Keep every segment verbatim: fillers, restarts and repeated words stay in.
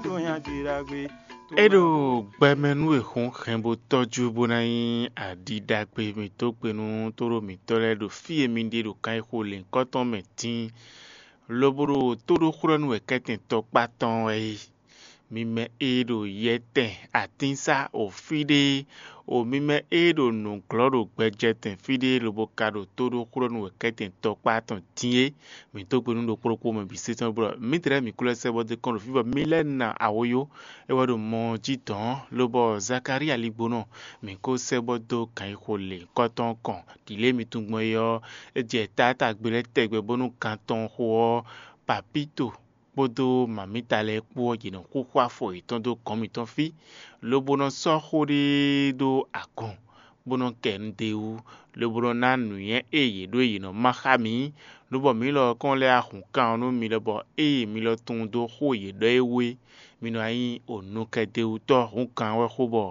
tó nyajú ɖagbe. É ɖo gbɛmɛ nú è xɔ́n hɛn bó tɔ́jú bó ná nyí aɖi ɖagbe mǐtɔn gbe nú tóɖó mǐtɔn lɛ́ɛ ɖo fí e mi ɖe ɖo kan e xo lěhunkɔtɔn mɛ dín, lobo ɖo tóɖóxwlɔ́nú wɛ kɛ́tɛn tɔkpá tɔn wɛ é. Mi mɛ e ɖo yɛtɛn atínsá o fí ɖé, o mi mɛ e ɖo nǔglɔ́ ɖo gbɛjɛtɛn fí ɖé lobo ka ɖo tóɖóxwlɔ́nú wɛ kɛ́tɛn tɔkpá tɔn dín é, mǐ dó gbe nú ɖokpó ɖokpó mɛ bǐ sésɔ́ blɔ mǐdɛɛ mǐ kú lɛ́ sɛ́ bɔ dó kɔn ɖo fí bɔ mǐ lɛ́ na awoyó. É wɛ ɖo mɔ jí dɔ̌n lobɔ Zakalía ligbonɔ mǐ kó sɛ́ bɔ dó gǎnyixo lě kɔ́tɔn kɔn ɖǐlé mi tungbɔn é ɔ́, é jɛ tátágbe lɛ́ɛ tɛgbɛ bónú gan tɔn xo ɔ́, Papíto kpódó mamǐta lɛ́ɛ kpó ɔ́, yě nɔ xúxú afɔ yětɔn dó gɔ̌n mǐtɔn fí, lobo nɔ sɔ́ xó ɖé ɖó agun, bó nɔ kɛ nu d'é wú, lobo nɔ ná nǔnywɛ́ e yě ɖó e yě nɔ má xá mǐ, lobɔ mǐ lɔ kɔn lɛ́ ahun kan ɔ́ nú mi lɔ bɔ ée mi lɔ tunwun dó xó e yě ɖɔ é wú é, mi nɔ wá nyí onukɛdewutɔ́ hǔnkan wɛ xó bɔ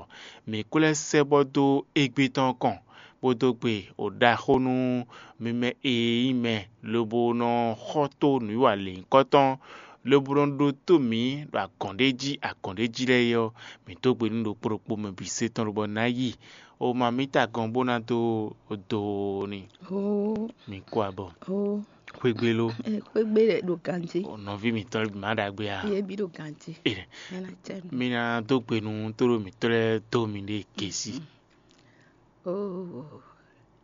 mǐ kú lɛ́ sɛ́ bɔ dó égbé tɔn kɔn, bó dó gbe o ɖaxó nú mi mɛ e nyí mɛ, lobo nɔ xɔ tó nǔwiwa lěhunkɔtɔn, lobo nɔ ɖótó mǐ ɖo agɔ̌n ɖé jí agɔ̌n ɖé jí lɛ́ɛ é ɔ́, mǐ dó gbe nú ɖokpó ɖokpó mɛ bǐ se tɔn lobɔ ná yi o ma mǐ ta gɔn bó ná dó do ni. Ó, mǐ kú abɔ ó, xwégbé ló. Xwégbé lɛ ɖo ganjí. Nɔví mǐtɔn lɛ́ɛ bǐ má ɖagbe a? Yé bí ɖo ganjí. Ɛ, Ena cɛ mi. Mi ná dó gbe nú tóɖó mǐtɔn lɛ́ɛ dó mi ɖe gěsí. Ó,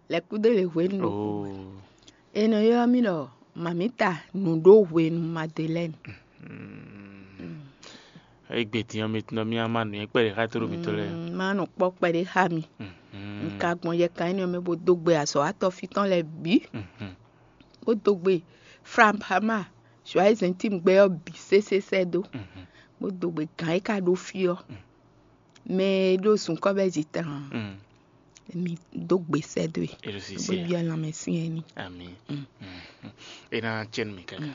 lɛkúdó le hwenu ɖo. Ó. È nɔ ylɔ́ mì ɖɔ mamita nǔɖó hwenu Madelɛ́ni. Egbe din ɔ́, mi tunɔ mì ma nǔnywɛ́ kpɛɖé xá tóɖó mǐtɔn lɛ́ɛ. Mm, ma nɔ kpɔ́ kpɛɖé xá mi. Mhm. Un ka gbɔn yɛ kan énɛ́ ɔ́ mɛ bó dó gbe azɔ̌watɔ́ fí tɔn lɛ́ɛ bǐ, Mhm. bó dó gbe Franpama, Joyeux Intime gbɛ ɔ́ bǐ sésé sɛ́ dó, Mhm. bó dó gbe gǎn e ka ɖó fí ɔ́. Mm. Mɛ e ɖó zunkɔ́ bɛ́ zi tlan, Mm. mi dó gbe sɛ́ dó e, É ɖo bó sisɛ. Byɔ́ lanmɛ syɛ́n n'i. Ami. Mm. Mm. É ná cɛ́ nú mi káká. Mm.